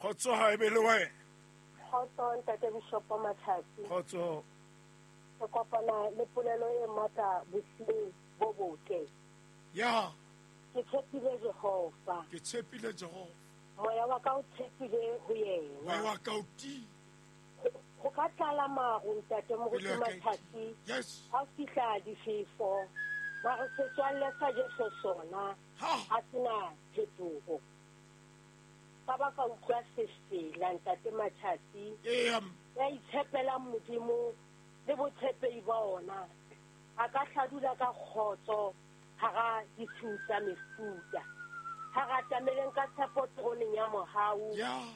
Kgotso ha e be le wena. Kgotso ntate Bishopo Matlhatsi. Kgotso. Re kopana le polelo e matla bosiung bo botle. Ya. Ke tshepile Jehova. Ke tshepile Jehova. Moya wa ka o tshepile ho yena. Moya wa ka o tiile. Ho ka tlala maru ntate Moruti Matlhatsi. Yes. Ha fihla difefo. Mare setswalle sa Jesu sona ha se na phetoho. Ka ba ka utlwa sefela ntate Matshatsi. Eya. Ya itshepelang Modimo le botshepehi ba ona. A ka hladula ka kgotso hara ditshiu tsa mefuta. Ha re atameleng ka tshepo teroneng ya mohau.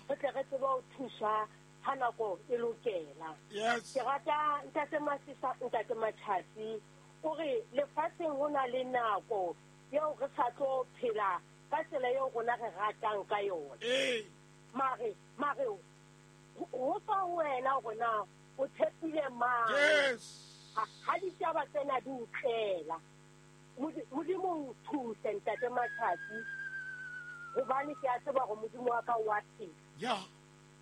Re tle re tsebe ho thuswa ha nako e lokela. Yes. Ke rata ntate Masisa, ntate Matshatsi. O re lefatsheng ho na le nako eo re sa tlo phela ka tsela eo rona re ratang ka yona. Ee. Mare, mare, ho tswa ho wena hore na o tshepile mang. Yes. Ha ditaba tsena di o tlela. Modimo o thuse ntate Matsatsi, hobane ke a tseba hore Modimo wa ka o a phela. Ya.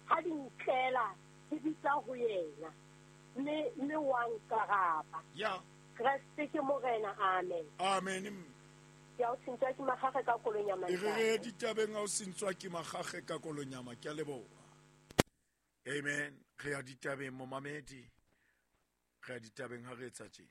Ha di ntlela, ke bitsa ho yena, mme, mme wa nkaraba. Ya. Kreste ke Morena, amen. Amen. Ke a o sentswa ke magage ka kolonyama. E re re ditabeng a o sentswa ke magage ka kolonyama. Ke a leboha. Amen. Re ya ditabeng momamedi. Re ya ditabeng ha re etsa tjena.